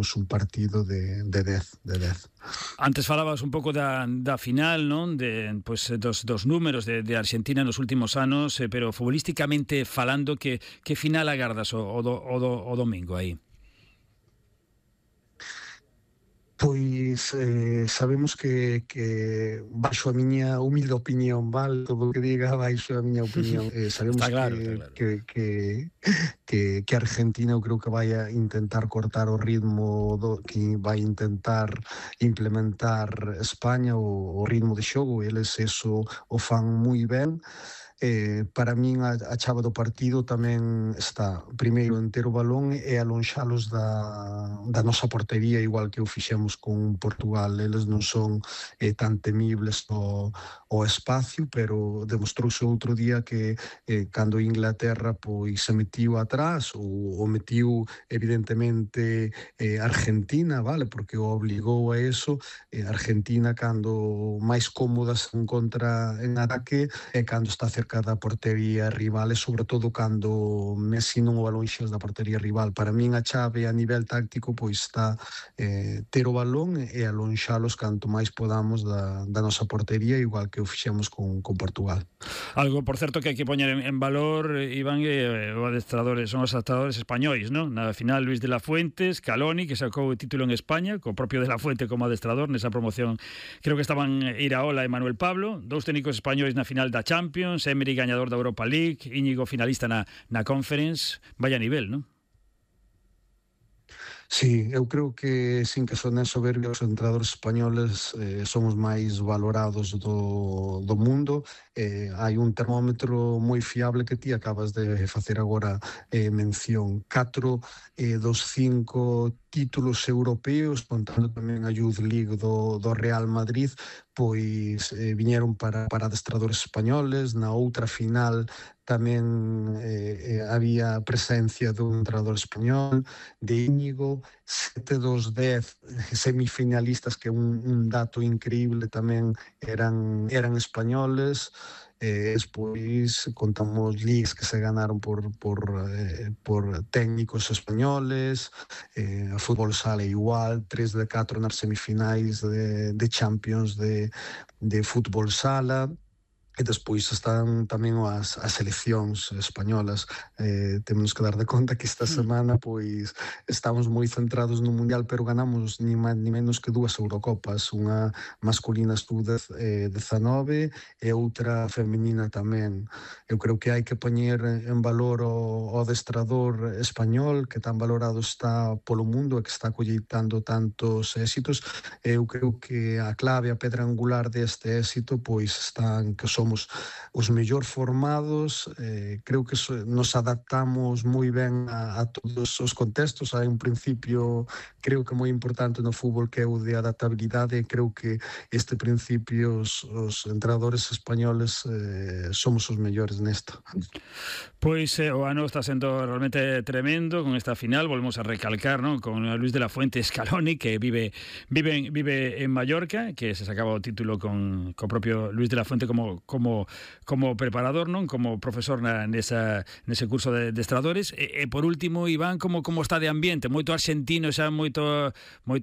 temos un partido de 10. Antes falabas un pouco da final, non? Pois dos números de Argentina nos últimos anos, pero futbolísticamente falando, que final agardas o domingo aí? Pois sabemos que baixo a miña humilde opinión, vale, todo o que diga baixo a miña opinión, sabemos Está claro. que Argentina eu creo que vai a intentar cortar o ritmo que vai intentar implementar España, o ritmo de xogo. Eles eso o fan moi ben. Para min a chave do partido tamén está primeiro en ter o balón e alonxalos da nosa portería, igual que o fixemos con Portugal. Eles non son tan temibles o espacio, pero demostrouse outro día que cando Inglaterra pois se metiu atrás, ou metiu evidentemente Argentina, vale, porque o obligou a eso. Argentina, cando máis cómoda se encontra en ataque, é cando está cerca da portería rival, e sobre todo cando Messi non o alonxas da portería rival. Para min a chave a nivel táctico pois está ter o balón e alonxalos canto máis podamos da nosa portería, igual que o fixemos con Portugal. Algo, por certo, que hai que poñer en valor, Iván, son os adestradores españois, non? Na final, Luis de la Fuente, Scaloni, que sacou o título en España, co propio de la Fuente como adestrador nesa promoción. Creo que estaban Iraola e Manuel Pablo, dous técnicos españois na final da Champions, Emery gañador da Europa League, Íñigo finalista na Conference. Vaya nivel, non? Sí, eu creo que, sin que sonen soberbia, os entrenadores españoles son os máis valorados do mundo. Hai un termómetro moi fiable que ti acabas de facer agora mención. 4 dos 5 títulos europeos, contando tamén a Youth League do Real Madrid, pois viñeron para adestradores españoles. Na outra final tamén había presencia dun entrenador español, de Íñigo. 7 dos 10 semifinalistas, que un dato increíble, tamén eran españoles. Despois contamos ligas que se ganaron por técnicos españoles. A fútbol sala igual, 3 de 4 nas semifinais de Champions de fútbol sala. E despois están tamén as seleccións españolas. Temos que dar de conta que esta semana pois estamos moi centrados no Mundial, pero ganamos ni máis ni menos que 2 Eurocopas, unha masculina sub-19 e outra feminina tamén. Eu creo que hai que poñer en valor o adestrador español, que tan valorado está polo mundo e que está colleitando tantos éxitos. Eu creo que a clave, a pedra angular deste éxito pois está en que somos os mellor formados. Creo que nos adaptamos moi ben a todos os contextos. Hai un principio, creo que moi importante no fútbol, que é o de adaptabilidade, e creo que este principio os entrenadores españoles somos os mellores nesto. Pois o ano está sendo realmente tremendo con esta final. Volvemos a recalcar, ¿no?, con Luis de la Fuente, Scaloni, que vive en Mallorca, que se sacaba o título con propio Luis de la Fuente como preparador, non, como profesor nese curso de adestradores. E por último, Iván, como está de ambiente? Moito argentino, xa moito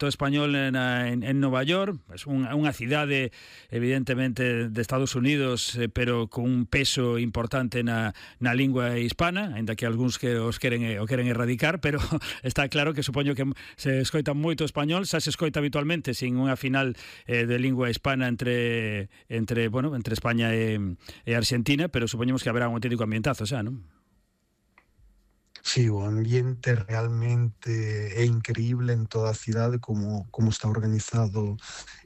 español en Nova York. É unha cidade evidentemente de Estados Unidos, pero con un peso importante na lingua hispana, ainda que algúns que o queren erradicar, pero está claro que supoño que se escoita moito español. Xa se escoita habitualmente sin unha final de lingua hispana entre España e Argentina, pero supoñemos que haberá un auténtico ambientazo xa, non? Sí, o ambiente realmente é increíble en toda a cidade, como está organizado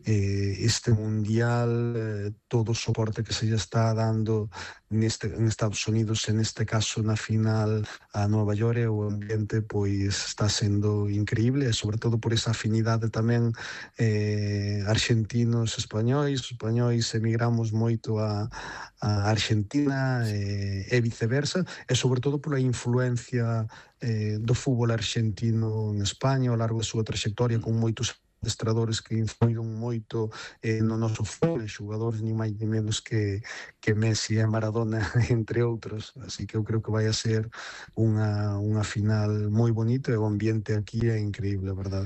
este Mundial, todo o soporte que se lle está dando en Estados Unidos, en este caso na final a Nova York. O ambiente pois está sendo increíble, e sobre todo por esa afinidade tamén argentinos españois emigramos moito a Argentina e viceversa, e sobre todo pola influencia do fútbol argentino en España ao largo da súa trayectoria, con moitos adestradores que influíron moito no noso fútbol, xogadores ni máis ni menos que Messi e Maradona, entre outros. Así que eu creo que vai a ser unha final moi bonita, e o ambiente aquí é increíble, a verdade.